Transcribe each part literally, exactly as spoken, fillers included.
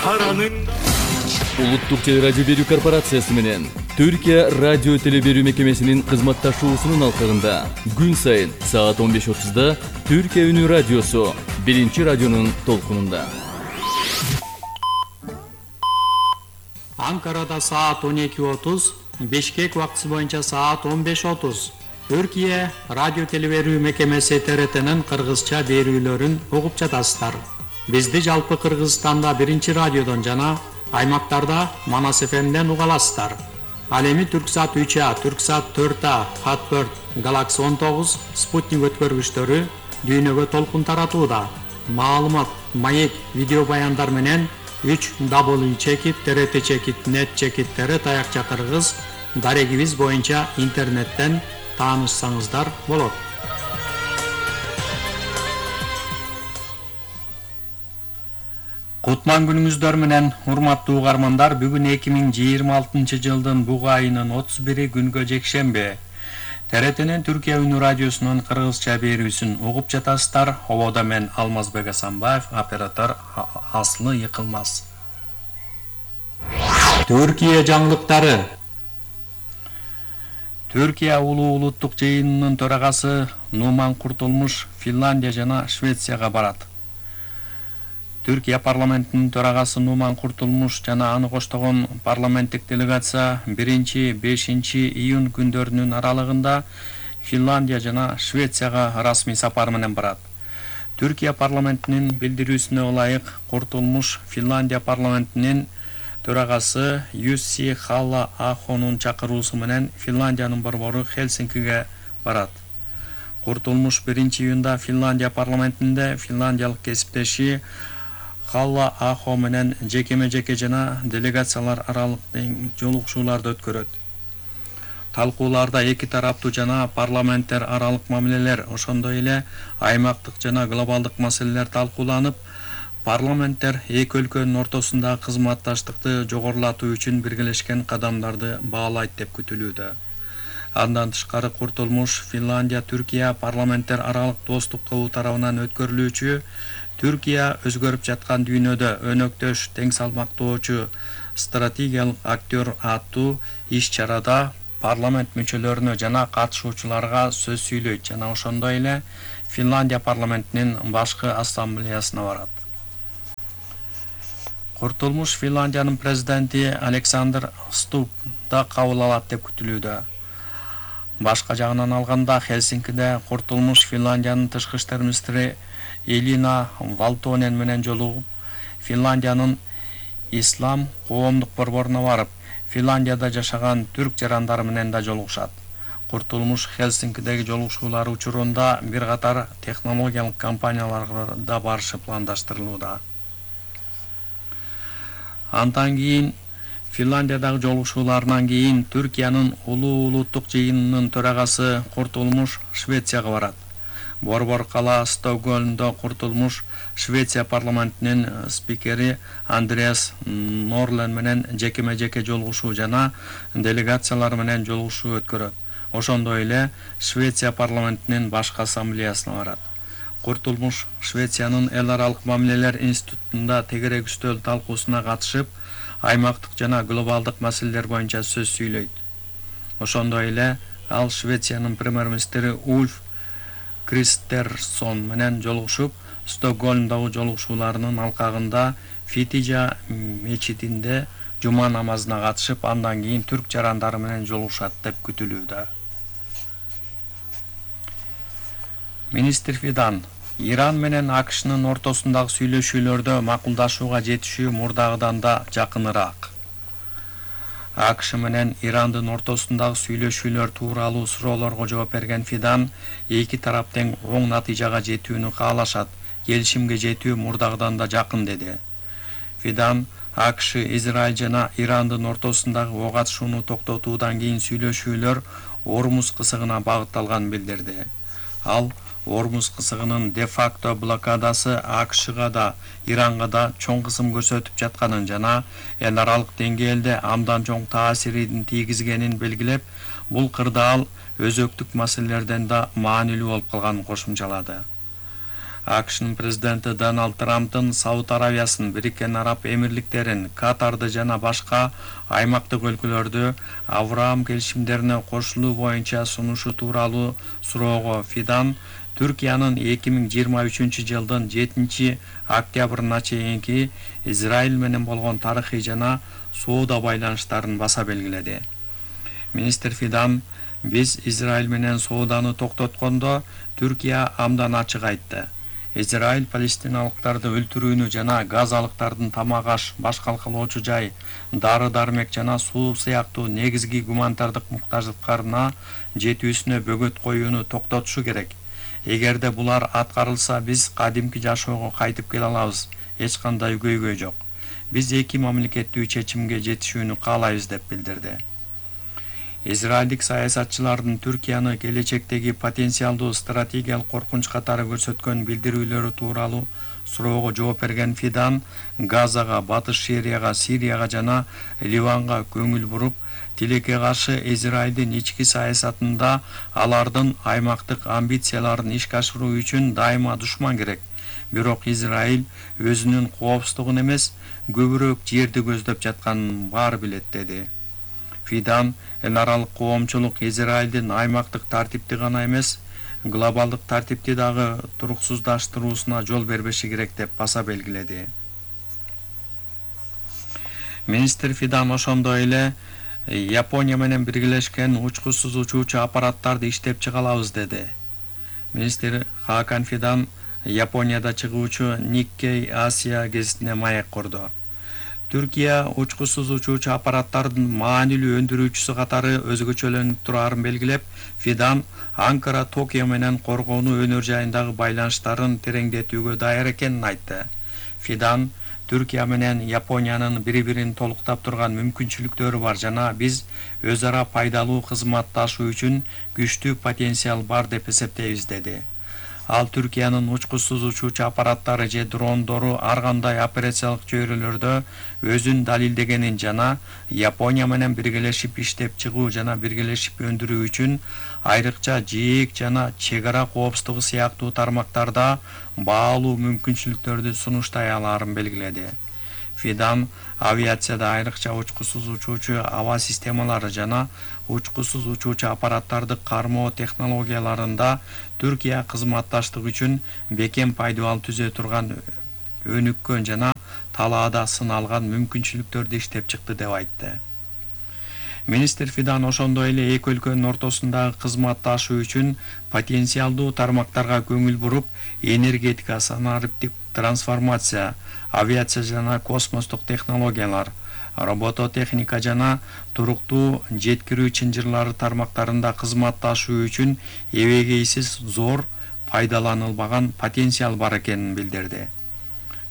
Улуттук телерадио берүү корпорациясы менен Түркия радио теле берүү мекемесинин кызматташуусунун алкагында күн сайын саат он беш отузда Түркия үнү радиосу биринчи радионун толкунунда. Анкарада саат он эки отуз, Бишкек убактысы боюнча саат он беш отуз. Түркия радио теле берүү мекемеси Т Р Т'нин кыргызча берүүлөрүн угуп жатасыздар. Бизди жалпы Кыргызстанда биринчи радиодон жана аймактарда Манас Ф M'ден уга аласыздар. Ал эми Түрксат үч А, Түрксат төрт А, Хатберт, Галакси он тогуз, Спутник өткөргүчтөрү дүйнөгө толкун таратууда. Маалымат, маек, видео баяндар менен үч дабл ю чекит Т Р Т чекит нет чекит Т Р таякча кыргыз дарегибиз боюнча интернеттен таанышсаңыздар болот. Кутман күнүңүздөр менен, урматтуу угармандар, бүгүн эки миң жыйырма алтынчы жылдын буга айынын отуз бири күнгө жекшемби. Т Р T'нин Түркия үнү радиосунун кыргызча берүүсүн угуп жатасыздар. Ободо мен Алмазбек Асанбаев, оператор Аслы Йыкылмаз. Түркия жаңылыктары. Түркия улуу улуттук жыйынынын төрагасы Нуман Куртулмуш Финляндия жана Швецияга барат. Түркия парламентинин төрагасы Нуман Куртулмуш жана аны коштогон парламенттик делегация биринчи бешинчи июнь күндөрүнүн аралыгында Финляндия жана Швецияга расмий сапар менен барат. Түркия парламентинин билдирүүсүнө ылайык, Куртулмуш Финляндия парламентинин төрагасы Юсси Халла-Ахонун чакыруусу менен Финляндиянын борбору Хельсинкиге барат. Куртулмуш биринчи июнда Финляндия парламентинде финляндиялык кесиптеши Халла-Ахо менен жекеме-жеке жана делегациялар аралык жолугушууларды өткөрөт. Талкууларда эки тараптуу жана парламенттер аралык мамилелер, ошондой эле аймактык жана глобалдык маселелер талкууланып, парламенттер эки өлкөнүн ортосундагы кызматташтыкты жогорулатуу үчүн биргелешкен кадамдарды баалайт деп күтүлүүдө. Андан тышкары Куртулмуш Финляндия Түркия парламенттер аралык достук тобу тарабынан өткөрүлүүчү Түркия өзгөрүп жаткан дүйнөдө өнөктөш, тең салмактоочу, стратегиялык актер аттуу иш-чарада парламент мүчөлөрүнө жана катышуучуларга сөз сүйлөйт жана ошондой эле Финляндия парламентинин башкы ассамблеясына барат. Куртулмуш Финляндиянын президенти Александр Ступ да кабыл алат деп күтүлүүдө. Башка жагынан алганда, Хельсинкиде Куртулмуш Финляндиянын тышкы иштер министри Элина Валтонен менен жолугуп, Финляндиянын ислам коомдук борборуна барып, Финляндияда жашаган түрк жарандары менен да жолугушат. Куртулмуш Хельсинкидеги жолугушуулар учурунда бир катар технологиялык компанияларга да барышы пландаштырылууда. Андан кийин Финляндиядагы жолугушууларынан кийин Түркиянын улуу улуттук жыйынынын төрагасы Куртулмуш Швецияга барат. Борбор кала Стокгольмдо Куртулмуш Швеция парламентинин спикери Андреас Норлен менен жекеме-жеке жолугушуу жана делегациялар менен жолугушуу өткөрөт. Ошондой эле Швеция парламентинин башкы ассамблеясына барат. Куртулмуш Швециянын эл аралык мамилелер институтунда тегерек үстөл талкуусуна катышып, аймактык жана глобалдык маселелер боюнча сөз сүйлөйт. Ошондой эле ал Швециянын премьер-министри Ульф Кристерсон менен жолугушуп, Стокгольмдагы жолугушууларынын алкагында Фитижа мечитинде жума намазына катышып, андан кийин түрк жарандары менен жолугушат деп күтүлүүдө. Министр Фидан Иран менен А К Шнын ортосундагы сүйлөшүүлөрдө макулдашууга жетишүү мурдагыдан да жакыныраак. А К Ш менен Ирандын ортосундагы сүйлөшүүлөр тууралуу суроолорго жооп берген Фидан эки тарап тең оң натыйжага жетүүнү каалашат, келишимге жетүү мурдагыдан да жакын деди. Фидан А К Ш, Израиль жана Ирандын ортосундагы ок атышууну токтотуудан кийин сүйлөшүүлөр Ормуз кысыгына багытталганын билдирди. Ал Ормуз кысыгынын де-факто блокадасы А К Шга да, Иранга да чоң кысым көрсөтүп жатканын жана эл аралык деңгээлде абдан чоң таасирин тийгизгенин белгилеп, бул кырдаал өзөктүк маселелерден да маанилүү болуп калганын кошумчалады. АКШнын президенти Дональд Трамптын Сауд Аравиясын, Бириккен Араб Эмирликтерин, Катарды жана башка аймактык өлкөлөрдү Авраам келишимдерине кошулуу боюнча сунушу тууралуу суроого Фидан Түркиянын эки миң жыйырма үчүнчү жылдын жетинчи октябрына чейинки Израиль менен болгон тарыхый жана соода байланыштарын баса белгиледи. Министр Фидан: «Биз Израиль менен сооданы токтоткондо Түркия абдан ачык айтты. Израиль палестиналыктарды өлтүрүүнү жана газалыктардын тамак аш, баш калкалоочу жай, дары-дармек жана суу сыяктуу негизги гуманитардык муктаждыктарына жетүүсүнө бөгөт коюуну токтотушу керек. Эгерде булар аткарылса, биз кадимки жашоого кайтып келе алабыз. Эч кандай көйгөй жок. Биз эки мамлекеттүү чечимге жетишүүнү каалайбыз», деп билдирди. Израилдик саясатчылардын Түркияны келечектеги потенциалдуу стратегиялык коркунч катары көрсөткөн билдирүүлөрү тууралуу суроого жооп берген Фидан Газага, Батыш Шерияга, Сирияга жана Ливанга көңүл буруп, тилекке каршы Израилдин ички саясатында алардын аймактык амбицияларын ишке ашыруу үчүн дайыма душман керек. Бирок Израиль өзүнүн коопсуздугун эмес, көбүрөөк жерди көздөп жатканын баары билет, деди. Фидан эл аралык коомчулук Израилдин аймактык тартипти гана эмес, глобалдык тартипти дагы туруксуздаштыруусуна жол бербеши керек деп баса белгиледи. Министр Фидан ошондой эле Япония менен биргелешкен учкучсуз учуучу аппараттарды иштеп чыга алабыз, деди. Министр Хакан Фидан Японияда чыгуучу Nikkei Asia гезитине маек курду. Түркия учкучсуз учуучу аппараттардын маанилүү өндүрүүчүсү катары өзгөчөлөнүп тураарын белгилеп, Фидан Анкара Токио менен коргонуу өнөр жайындагы байланыштарын тереңдетүүгө даяр экенин айтты. Фидан Түркия менен Япониянын бири-бирин толуктап турган мүмкүнчүлүктөрү бар жана биз өз ара пайдалуу кызматташуу үчүн күчтүү потенциал бар деп эсептейбиз, деди. Ал Түркиянын учкучсуз учуучу аппараттары же дрондору ар кандай операциялык чөйрөлөрдө өзүн далилдегенин жана Япония менен биргелешип иштеп чыгуу жана биргелешип өндүрүү үчүн айрыкча жээк жана чек ара коопсуздугу сыяктуу тармактарда баалуу мүмкүнчүлүктөрдү сунуштай алаарын белгиледи. Фидан авиацияда айрыкча учкучсуз учуучу аба системалары жана учкучсуз учуучу аппараттарды кармоо технологияларында Түркия кызматташтык үчүн бекем пайдабал түзө турган өнүккөн жана талаада сыналган мүмкүнчүлүктөрдү иштеп чыкты, деп айтты. Министр Фидан ошондой эле эки өлкөнүн ортосундагы кызматташуу үчүн потенциалдуу тармактарга көңүл буруп, энергетика, санариптик трансформация, авиация жана космостук технологиялар, робототехника жана туруктуу жеткирүү чынжырлары тармактарында кызматташуу үчүн эбегейсиз зор пайдаланылбаган потенциал бар экенин билдирди.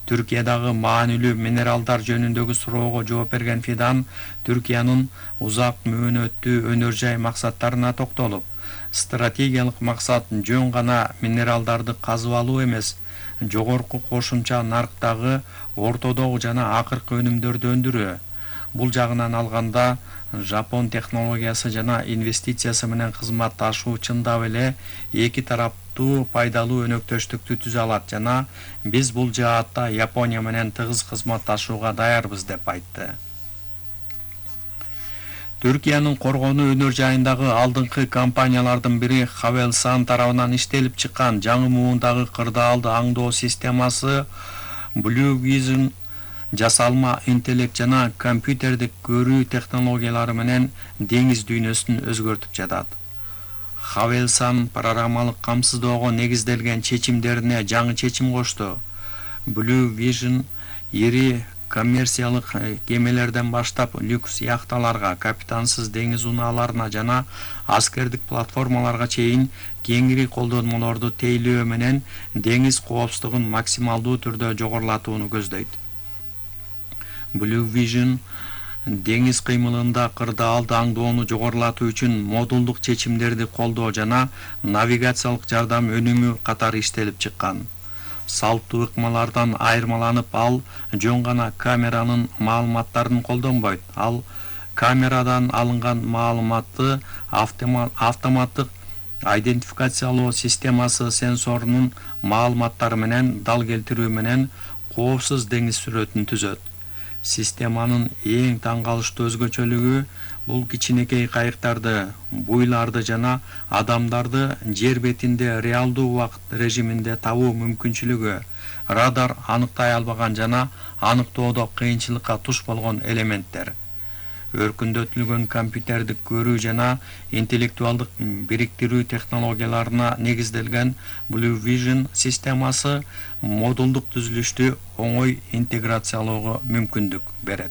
Түркиядагы маанилүү минералдар жөнүндөгү суроого жооп берген Фидан Түркиянын узак мөөнөттүү өнөр жай максаттарына токтолуп, стратегиялык максат жөн гана минералдарды казып алуу эмес, жогорку кошумча нарктагы ортодогу жана акыркы өнүмдөрдү өндүрүү. Бул жагынан алганда Жапон технологиясы жана инвестициясы менен кызматташуу чындап эле эки тараптуу пайдалуу өнөктөштүктү түзө алат жана биз бул жаатта Япония менен тыгыз кызматташууга даярбыз, деп айтты. Түркиянын коргонуу өнөр жайындагы алдыңкы компаниялардын бири Havelsan тарабынан иштелип чыккан жаңы муундагы кырдаалды аңдоо системасы Blue Vision жасалма интеллект жана компьютердик көрүү технологиялары менен деңиз дүйнөсүн өзгөртүп жатат. Havelsan программалык камсыздоого негизделген чечимдерине жаңы чечим кошту. Blue Vision ири коммерциялык кемелерден баштап люкс яхталарга, капитансыз деңиз унааларына жана аскердик платформаларга чейин кеңири колдонмолорду тейлөө менен деңиз коопсуздугун максималдуу түрдө жогорулатууну көздөйт. Blue Vision деңиз кыймылында кырдаалды аңдоону жогорулатуу үчүн модулдук чечимдерди колдоо жана навигациялык жардам өнүмү катары иштелип чыккан. Салттуу ыкмалардан айырмаланып, ал жөн гана камеранын маалыматтарын колдонбойт. Ал камерадан алынган маалыматты автоматтык Идентификациялоо системасы сенсорунун маалыматтары менен дал келтирүү менен коопсуз деңиз сүрөтүн түзөт. Системанын эң таң калыштуу өзгөчөлүгү бул кичинекей кайыктарды, буйларды жана адамдарды жер бетинде реалдуу убакыт режиминде табуу мүмкүнчүлүгү, радар аныктай албаган жана аныктоодо кыйынчылыкка туш болгон элементтер. Өркүндөтүлгөн компьютердик көрүү жана интеллектуалдык бириктирүү технологияларына негизделген Blue Vision системасы модулдук түзүлүштү оңой интеграциялоого мүмкүндүк берет.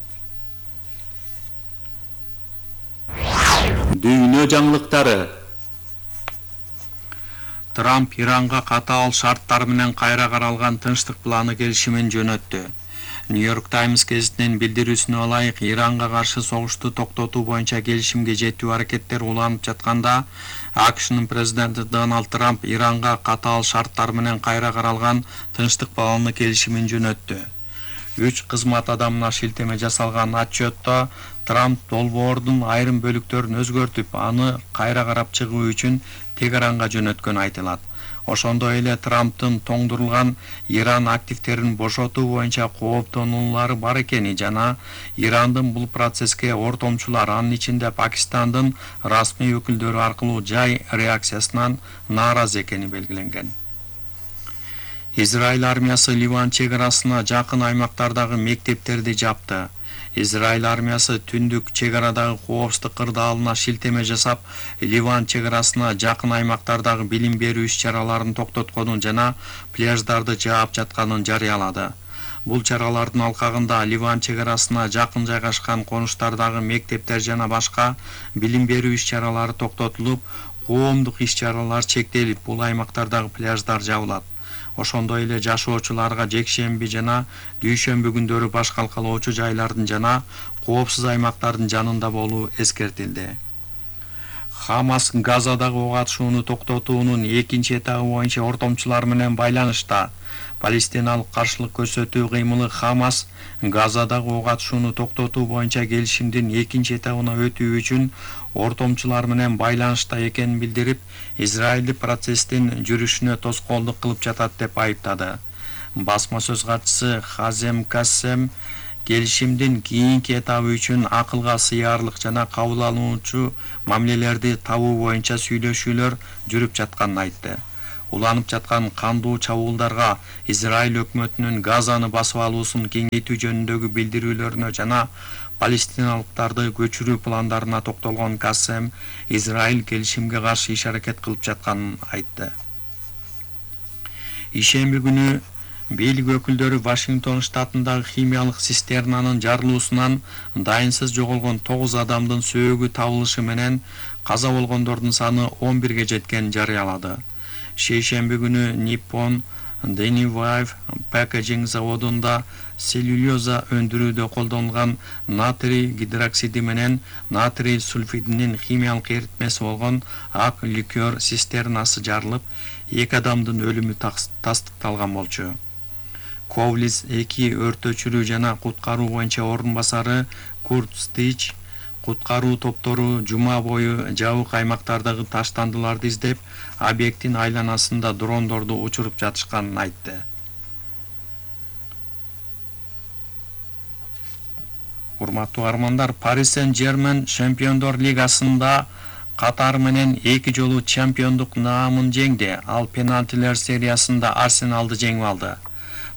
Дүйнө жаңылыктары. Трамп Иранга катаал шарттар менен кайра каралган тынчтык планы келишимин жөнөттү. New York Times гезитинин билдирүүсүнө ылайык, Иранга каршы согушту токтотуу боюнча келишимге жетүү аракеттер уланып жатканда, АКШнын президенти Дональд Трамп Иранга катаал шарттар менен кайра каралган тынчтык планы келишимин жөнөттү. Үч кызмат адамына шилтеме жасалган отчетто Трамп долбоордун айрым бөлүктөрүн өзгөртүп, аны кайра карап чыгуу үчүн Тегеранга жөнөткөнү айтылат. Ошондой эле Трамптын тоңдурулган Иран активтерин бошотуу боюнча кооптонуулары бар экени жана Ирандын бул процесске ортомчулар, анын ичинде Пакистандын расмий өкүлдөрү аркылуу жай реакциясынан нааразы экени белгиленген. Израиль армиясы Ливан чек арасына жакын аймактардагы мектептерди жапты. Израиль армиясы түндүк чек арадагы коопсуздук кырдаалына шилтеме жасап, Ливан чек арасына жакын аймактардагы билим берүү иш-чараларын токтотконун жана пляждарды жаап жатканын жарыялады. Бул чаралардын алкагында Ливан чек арасына жакын жайгашкан конуштардагы мектептер жана башка билим берүү иш-чаралары токтотулуп, коомдук иш-чаралар чектелип, бул аймактардагы пляждар жабылат. Ошондой эле жашоочуларга жекшемби жана дүйшөмбү күндөрү баш калкалоочу жайлардын жана коопсуз аймактардын жанында болуу эскертилди. Хамас Газадагы ок атышууну токтотуунун экинчи этабы боюнча ортомчулар менен байланышта. Палестиналык каршылык көрсөтүү кыймылы Хамас Газадагы ок атышууну токтотуу боюнча келишимдин экинчи этабына өтүү үчүн ортомчулар менен байланышта экенин билдирип, Израилди процесстин жүрүшүнө тоскоолдук кылып жатат деп айыптады. Басма сөз катчысы Хазем Кассем келишимдин кийинки этабы үчүн акылга сыярлык жана кабыл алуучу мамилелерди табуу боюнча сүйлөшүүлөр жүрүп жатканын айтты. Уланып жаткан кандуу чабуулдарга, Израиль өкмөтүнүн Газаны басып алуусун кеңейтүү жөнүндөгү билдирүүлөрүнө жана палестиналыктарды көчүрүү пландарына токтолгон Кассем Израиль келишимге каршы иш-аракет кылып жатканын айтты. Ишемби күнү бийлик өкүлдөрү Вашингтон штатындагы химиялык цистернанын жарылуусунан дайынсыз жоголгон тогуз адамдын сөөгү табылышы менен каза болгондордун саны он бирге жеткенин жарыялады. Шейшемби күнү Nippon Denivive Packaging заводунда целлюлоза өндүрүүдө колдонулган натрий гидроксиди менен натрий сульфидинин химиялык эритмеси болгон ак ликер цистернасы жарылып, эки адамдын өлүмү тастыкталган болчу. Ковлис эки өрт өчүрүү жана куткаруу боюнча орун басары Курт Стич куткаруу топтору жума бою жабык аймактардагы таштандыларды издеп, объекттин айланасында дрондорду учуруп жатышканын айтты. Урматтуу армандар, Paris Saint-Germain Чемпиондор лигасында катары менен эки жолу чемпиондук наамын жеңди. Ал пенальтилер сериясында Арсеналды жеңип алды.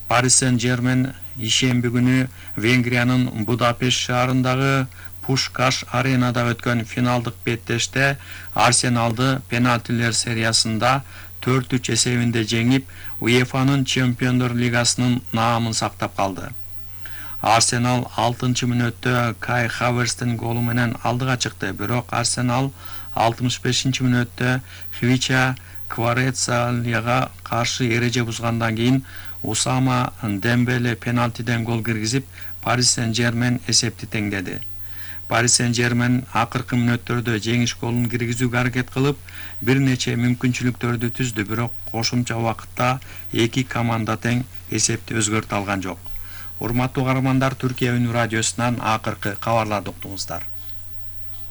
Paris Saint-Germain ишемби күнү Венгриянын Будапешт шаарындагы Пушкаш аренада өткөн финалдык беттеште Арсеналды пенальтилер сериясында төрт үч эсебинде жеңип, УЕФАнын Чемпиондор лигасынын наамын сактап калды. Арсенал алтынчы мүнөттө Кай Хаверстин голу менен алдыга чыкты, бирок Арсенал алтымыш бешинчи мүнөттө Хвича Кварецалияга каршы эреже бузгандан кийин Усама Дембеле пенальтиден гол киргизип, Paris Saint-Germain эсепти теңдеди. Paris Saint-Germain акыркы мүнөттөрдө жеңиш голун киргизүүгө аракет кылып, бир нече мүмкүнчүлүктөрдү түздү, бирок кошумча убакытта эки команда тең эсепти өзгөртө алган жок. Урматтуу каармандар, Түркия Үнү радиосунан акыркы кабарларды уктуңуздар.